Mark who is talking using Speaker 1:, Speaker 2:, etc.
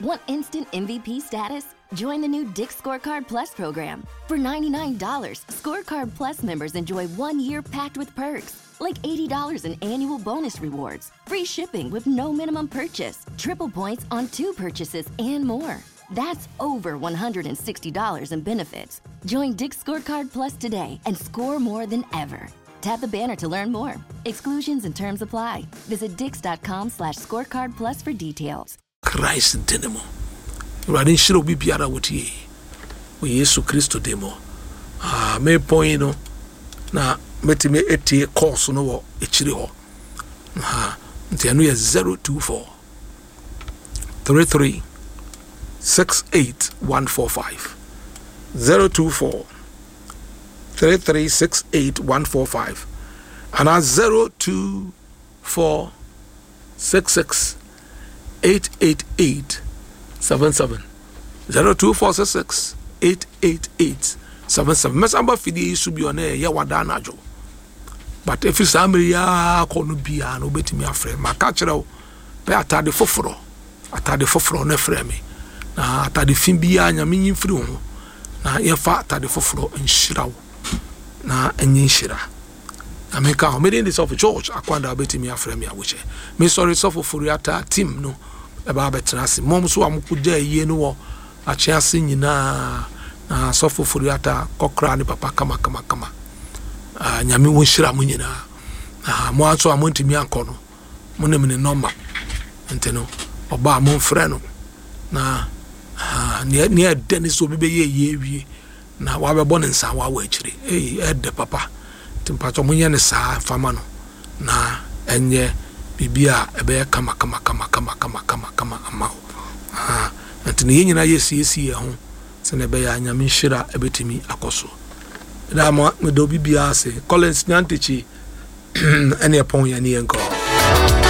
Speaker 1: Want instant MVP status? Join the new Dick's Scorecard Plus program. For $99, Scorecard Plus members enjoy 1 year packed with perks, like $80 in annual bonus rewards, free shipping with no minimum purchase, triple points on two purchases, and more. That's over $160 in benefits. Join Dick's Scorecard Plus today and score more than ever. Tap the banner to learn more. Exclusions and terms apply. Visit dicks.com/scorecard plus for details.
Speaker 2: Christ din mu. Awurade nhyira obi biara a wotie wɔ Yesu Kristo din mu. Ah, mepɔn yi no na mɛtumi etie course no wɔ akyiri hɔ. Ha, nti ɛno yɛ 024 33 68 145 024 33 68 145 anaa 024 66 888 77 02466 888 77. Mɛsan ba fidie yi so bio na ɛyɛ wada anadwo, but ɛfiri saa mmere yi ara kɔ no biara no, wobɛtumi afrɛ. Maka kyerɛ wo pɛ atade foforɔ, atade foforɔ no frɛ me na atade fi biara Nyame nyi mfiri wo ho na yɛmfa atade foforɔ nhyira wo na ɛnyɛ nhyira. Nyame ka ho. Mede de Sɔfo George Akwanda, wobɛtumi afrɛ me awokyɛ. Mesɔre Sɔfo Foriata team no ɛba abɛtena ase mmom so a mokɔgya ayie no wɔ akye ase nyinaa na Sɔfo Foriata kɔkora ne papa kama kama kama. Ah, Nyame wo nhyira mo nyinaa. Na mo nso a montumi ankɔ no, mo ne me ne nɔma nti no, ɔba a momfrɛ no na ah, nea ɛdɛ ne sɛ obi bɛyɛ yie awie na wabɛbɔ ne nsa wawɔ akyire. Ei, ɛdɛ papa. Nti mpakyɛ monyɛ ne saa fama no na ɛnyɛ biribi a ɛbɛyɛ kama kama kama kama kama kama kama ama wo. Ah, nti ne yɛn nyinaa yɛsiesie yɛn ho sɛnea ɛbɛyɛ a Nyame nhyira ɛbɛtumi akɔ so. Meda mo, meda obi biara ase. Collins Nyantakyi ɛne ɛpɔn yɛn ne yɛn kɔ.